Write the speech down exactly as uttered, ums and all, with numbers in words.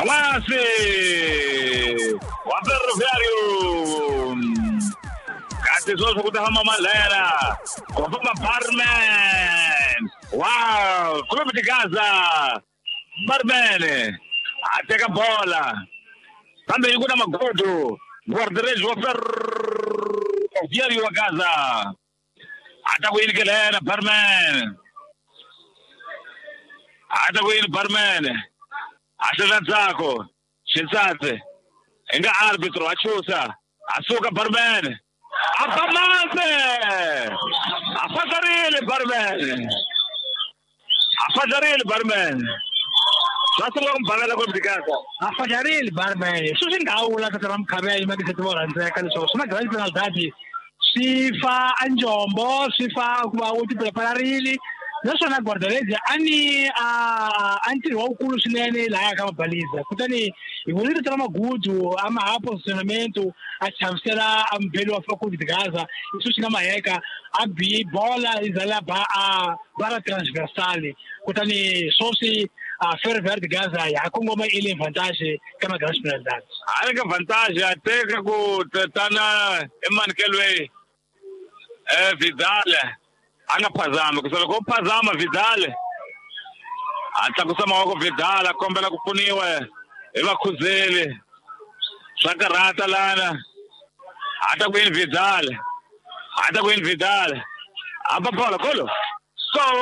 Lance! Wa Ferroviário! Kasi sweswo ku ta famba Malera, ku famba Barman. Wow! Clube de Gaza! Barman! A teka bola. Kambe yi ku na magodo. Guarda-redes wa Ferroviário wa Gaza. A ta ku yini ke lena Barman? A ta ku yini Barman? A xela ndzhaku. Xisatsi. Hi nga arbitro a chusa. A suka Barman. A ba mase! A fajarile Barman. A fajarile Barman. Swa sungula ku mbalala Clube de Gaza. A fajarile Barman. Sweswi ndhawu la tata ra Mukhabela ma vo rhandzeka leswaku swi na grand penalty swi fa a njombo swi fa ku va u ti preparerile naswona guarda-redes a ni a a ntirho wukulu swinene lahaya ka mabaliza kutani hi vone rito ra magudu a ma ha positionamento a chavisela a mubeli wa Clube de Gaza leswi swi nga maheka a bi bola yi za ba a bara transversal kutani swoswi a Ferroviário de Gaza ya kongoma ile vantagem ka ma grandes penalidades. A ri ka vantagem a teka ku tana emanekelweni eh Vidal a nga phazami ku loko phazama Vidal a tlakusa mavoko Vidal a kombela ku pfuniwa hi vakhuzeli swa karhata lana a ta ku yini Vidal a ta ku yini Vidal a ba bola kolo. Gol!